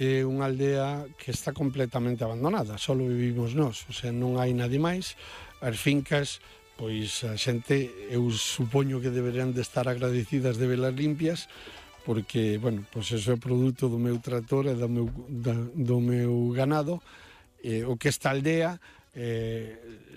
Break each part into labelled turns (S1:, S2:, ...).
S1: é unha aldea que está completamente abandonada, só vivimos nós, o sea, non hai nadie máis. As fincas, pois a xente, eu supoño que deberían de estar agradecidas de velas limpias, porque, bueno, pois eso é produto do meu tractor e do meu ganado, o que esta aldea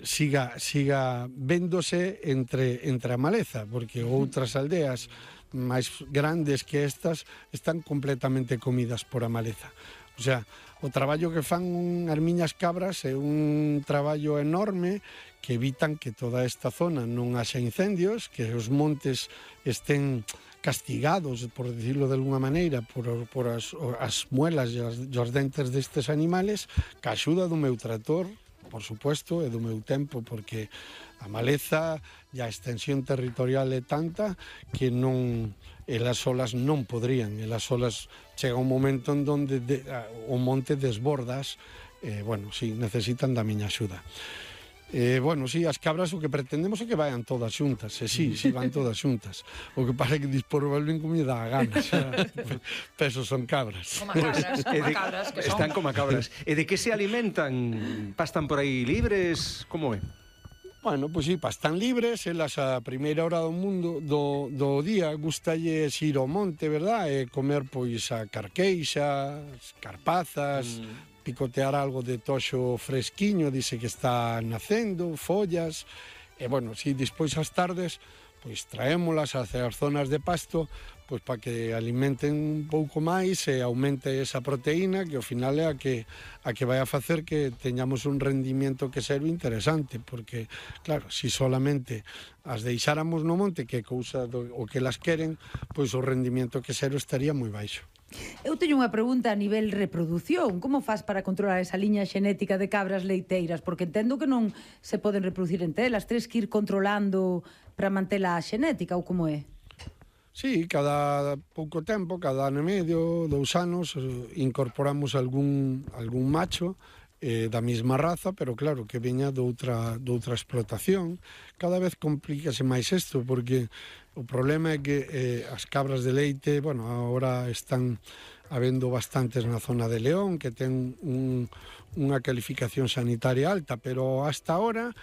S1: siga véndose entre a maleza, porque outras aldeas máis grandes que estas están completamente comidas por a maleza. O sea, o traballo que fan as miñas cabras é un traballo enorme que evitan que toda esta zona non haxa incendios, que os montes estén castigados, por decirlo de alguna maneira, por as muelas e os dentes destes animales, que a axuda do meu tractor, por suposto, e do meu tempo, porque a maleza e a extensión territorial é tanta que non, elas solas non podrían, elas solas chega un momento en donde o monte desbordas, bueno, si, necesitan da miña axuda. Bueno, si, as cabras o que pretendemos é que vayan todas xuntas, e si, van todas xuntas. O que pasa é que dispor volven como lle dá a gana, peso son cabras.
S2: Como cabras, que son.
S3: Están como cabras. E de que se alimentan? Pastan por aí libres? Como é?
S1: Bueno, pois si, pastan libres, elas a primeira hora do mundo, do día, gustalles ir ao monte, verdad? E comer, pois, a carqueixa, as carpazas, picotear algo de toxo fresquiño, dice que está nacendo, follas, e, bueno, si, despois as tardes, pois, traémolas hacia as zonas de pasto, pois, para que alimenten un pouco máis e aumente esa proteína, que ao final é a que vai a facer que teñamos un rendimiento que serve interesante, porque, claro, si solamente as deixáramos no monte, que é cousa o que las queren, pois o rendimiento que serve estaría moi baixo.
S4: Eu teño unha pregunta a nivel reproducción. Como faz para controlar esa liña xenética de cabras leiteiras? Porque entendo que non se poden reproducir entre elas. Tres que ir controlando para mantela a xenética, ou como é?
S1: Sí, cada pouco tempo, cada ano e medio, 2 anos, incorporamos algún macho da mesma raza, pero claro, que veña doutra explotación. Cada vez complícase máis isto, porque o problema é que as cabras de leite, bueno, agora están habendo bastantes na zona de León, que ten unha calificación sanitaria alta, pero hasta ahora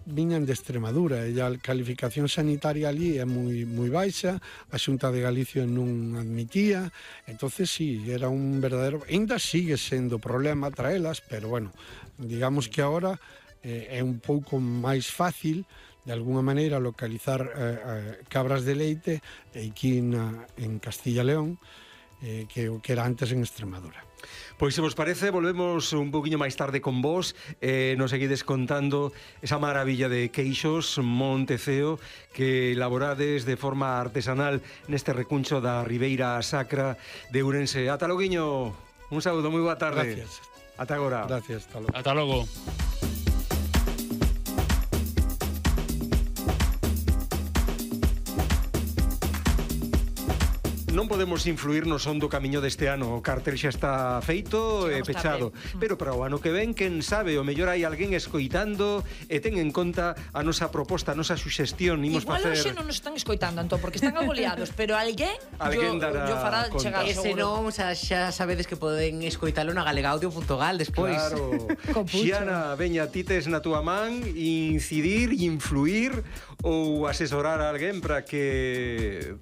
S1: viñan de Extremadura, e a calificación sanitaria ali é moi baixa, a Xunta de Galicia non admitía, entonces sí, era un verdadero, ainda sigue sendo problema traelas, pero bueno, digamos que agora é un pouco máis fácil de alguna maneira localizar cabras de leite aquí en Castilla e León, que o que era antes en Extremadura.
S3: Pois se vos parece, volvemos un poquinho máis tarde con vos, nos seguides contando esa maravilla de queixos Monteceo que elaborades de forma artesanal neste recuncho da Ribeira Sacra de Ourense. Ata loguiño, un saúdo, moi boa tarde.
S1: Gracias.
S3: Ata agora.
S1: Gracias, hasta logo.
S5: Ata logo.
S3: Non podemos influir no son do camiño deste ano. O cartel xa está feito e pechado. Pero para o ano que ven, quen sabe, o mellor hai alguén escoitando e ten en conta a nosa proposta, a nosa suxestión.
S2: Igual hoxe non nos están escoitando, Antón, porque están agoleados, pero alguén fará chegar seguro.
S6: E se non, xa sabedes que poden escoitalo na galegaudio.gal despois.
S3: Claro. Xiana, veña, ti tes na túa man incidir, influir ou asesorar a alguén para que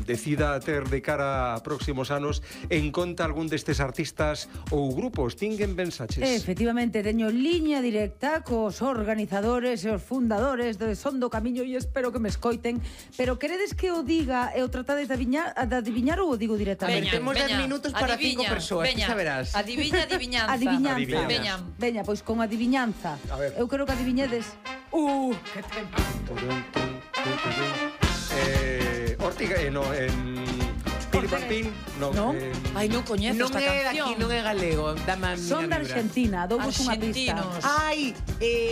S3: decida ter de cara a próximos anos en conta algún destes artistas ou grupos. Tinguen pensaches?
S4: Efectivamente, teño liña directa cos organizadores e os fundadores de Son do Camiño e espero que me escoiten, pero queredes que o diga e o tratades de adiviñar ou o digo directamente?
S6: Temos 10 minutos para 5 persoas, que saberás.
S2: Adiviñanza.
S4: Adiviñanza. Veña, pois con adiviñanza. Eu quero que adiviñedes. Que tempo.
S3: Ortiga, Piripampín,
S4: non.
S2: Ai, non coñezo esta canción.
S6: Non é galego, dame a
S4: Son da Argentina, douvos unha pista.
S6: Ai,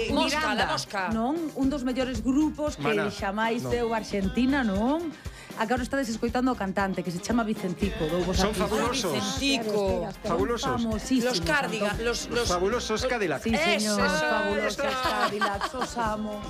S2: Mosca,
S6: Miranda.
S2: la Mosca.
S4: Non, un dos mellores grupos que xamais deu Argentina, non? Agora estades escoitando o cantante que se chama Vicentico.
S3: Son fabulosos.
S2: Vicentico.
S3: Fabulosos.
S2: Los Cardigan, los
S3: fabulosos Cadillacs.
S4: Sí, señor, fabulosos Cadillacs, os amo.